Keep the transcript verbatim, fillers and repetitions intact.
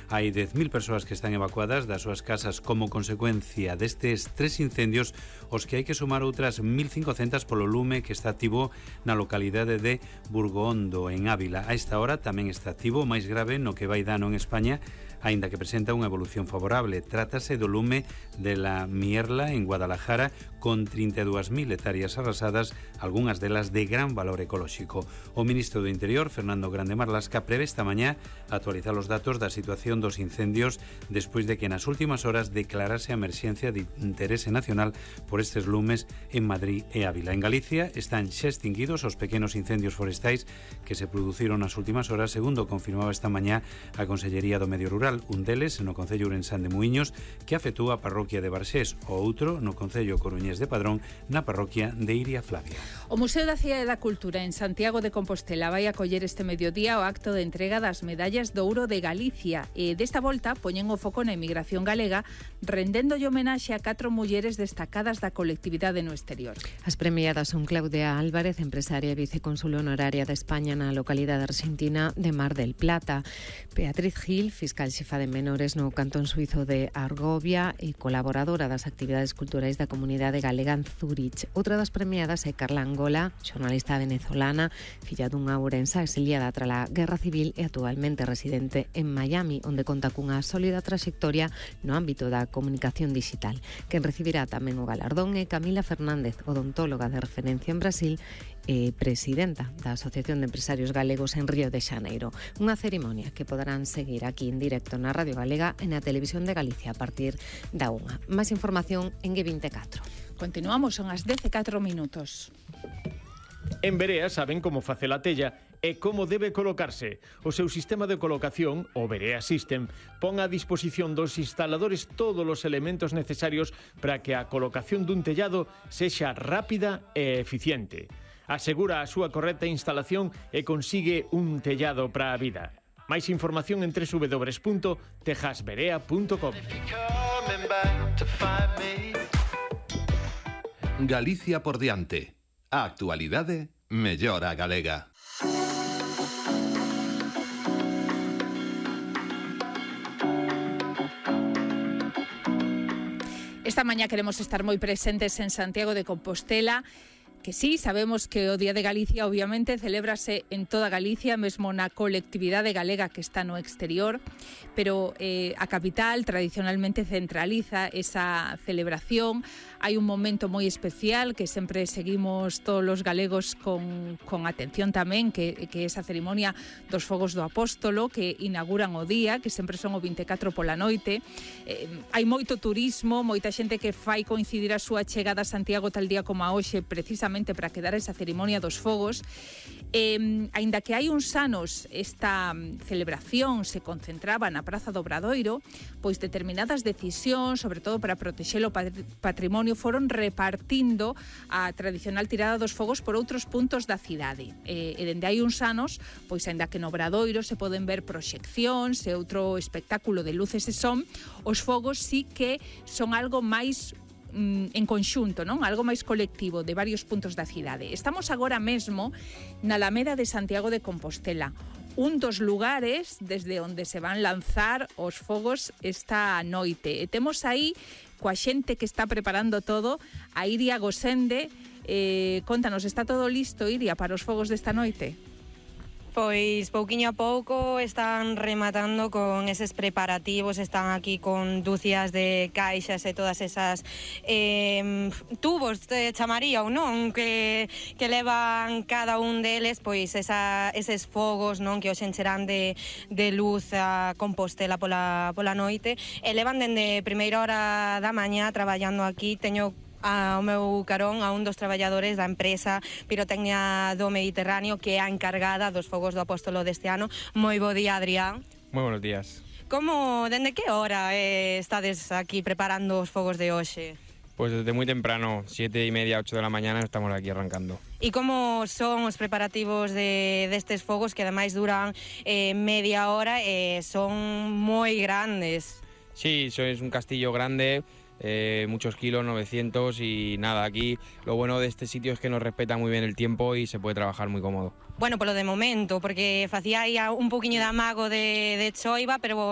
Hai dez mil persoas que están evacuadas das súas casas como consecuencia destes tres incendios, os que hai que sumar outras mil cincocentas polo lume que está activo na localidade de Burgondo, en Ávila. A esta hora tamén está activo, máis grave no que vai dano en España, aínda que presenta unha evolución favorable. Trátase do lume de la Mierla en Guadalajara, con trinta e dúas mil hectáreas arrasadas, algunhas delas de gran valor ecolóxico. O ministro do Interior, Fernando Grande Marlasca, prevé esta mañá actualizar os datos da situación dos incendios despois de que nas últimas horas declarase a emerxencia de interese nacional por estes lumes en Madrid e Ávila. En Galicia están xa extinguidos os pequenos incendios forestais que se produciron nas últimas horas, segundo confirmaba esta mañá a Consellería do Medio Rural. Un deles no concello ourensán de Muíños, que afectúa a parroquia de Barxés, o outro no concello coruñés de Padrón, na parroquia de Iria Flavia. O Museo da Cidade da Cultura en Santiago de Compostela vai acoller este mediodía o acto de entrega das medallas do ouro de Galicia e desta volta poñen o foco na emigración galega, rendéndolle homenaxe a catro mulleres destacadas da colectividade no exterior. As premiadas son Claudia Álvarez, empresaria e vicecónsul honoraria de España na localidade argentina de Mar del Plata, Beatriz Gil, fiscal xefa de menores no cantón suizo de Argovia e colaboradora das actividades culturais da comunidade galega en Zurich. Outra das premiadas é Carla Angola, xornalista venezolana, filla dunha ourensa exiliada trala Guerra Civil e actualmente residente en Miami, onde conta cunha sólida traxectoria no ámbito da comunicación digital. Quen recibirá tamén o galardón é Camila Fernández, odontóloga de referencia en Brasil e presidenta da Asociación de Empresarios Galegos en Río de Xaneiro. Unha cerimonia que poderán seguir aquí en directo na Radio Galega e na Televisión de Galicia a partir da unha. Máis información en G veinticuatro. Continuamos, son as dez e catro minutos. En Berea saben como facer a tella e como debe colocarse. O seu sistema de colocación, o Berea System, pon a disposición dos instaladores todos os elementos necesarios para que a colocación dun tellado sexa rápida e eficiente. Asegura a súa correcta instalación e consigue un tellado para a vida. Máis información en doble u doble u doble u punto tejasberea punto com. Galicia por diante. A actualidade mellora a galega. Esta mañá queremos estar moi presentes en Santiago de Compostela, que sí, sabemos que o Día de Galicia obviamente celébrase en toda Galicia, mesmo na colectividade galega que está no exterior, pero eh, a capital tradicionalmente centraliza esa celebración. Hai un momento moi especial que sempre seguimos todos os galegos con, con atención tamén, que, que esa cerimonia dos Fogos do Apóstolo, que inauguran o día, que sempre son o vinte e catro pola noite. Eh, hai moito turismo, moita xente que fai coincidir a súa chegada a Santiago tal día como a hoxe, precisamente para quedar esa cerimonia dos fogos. Eh, aínda que hai uns anos esta celebración se concentraba na Praza do Obradoiro, pois determinadas decisións, sobre todo para protexer o patrimonio, foron repartindo a tradicional tirada dos fogos por outros puntos da cidade. E, e dende hai uns anos, pois aínda que no Obradoiro se poden ver proxeccións e outro espectáculo de luces e son, os fogos sí que son algo máis en conxunto, non? Algo máis colectivo de varios puntos da cidade. Estamos agora mesmo na Alameda de Santiago de Compostela, un dos lugares desde onde se van lanzar os fogos esta noite. E temos aí coa xente que está preparando todo, a Iria Gosende. Eh, contanos, está todo listo, Iria, para os fogos desta noite? Pois pouquiño a pouco están rematando con eses preparativos, están aquí con dúcias de caixas e todas esas eh, tubos de chamaría ou non que, que levan cada un deles, pois esa, eses fogos non que os encherán de, de luz a Compostela pola, pola noite, e levan dende primeira hora da mañá traballando aquí. Teño ao meu carón a un dos traballadores da empresa Pirotecnia do Mediterráneo, que é a encargada dos Fogos do Apóstolo deste ano. Moi bo día, Adrián. Moi buenos días. Como, dende que hora eh, estades aquí preparando os fogos de hoxe? Pues desde muy temprano, siete y media, ocho de la mañana, estamos aquí arrancando. E como son os preparativos de destes fogos, que ademais duran eh, media hora e eh, son moi grandes? Sí, eso es un castillo grande. Eh, muchos kilos, novecientos, y nada, aquí lo bueno de este sitio es que nos respeta muy bien el tiempo y se puede trabajar muy cómodo. Bueno, polo de momento, porque facía aí un poquinho de amago de, de choiva, pero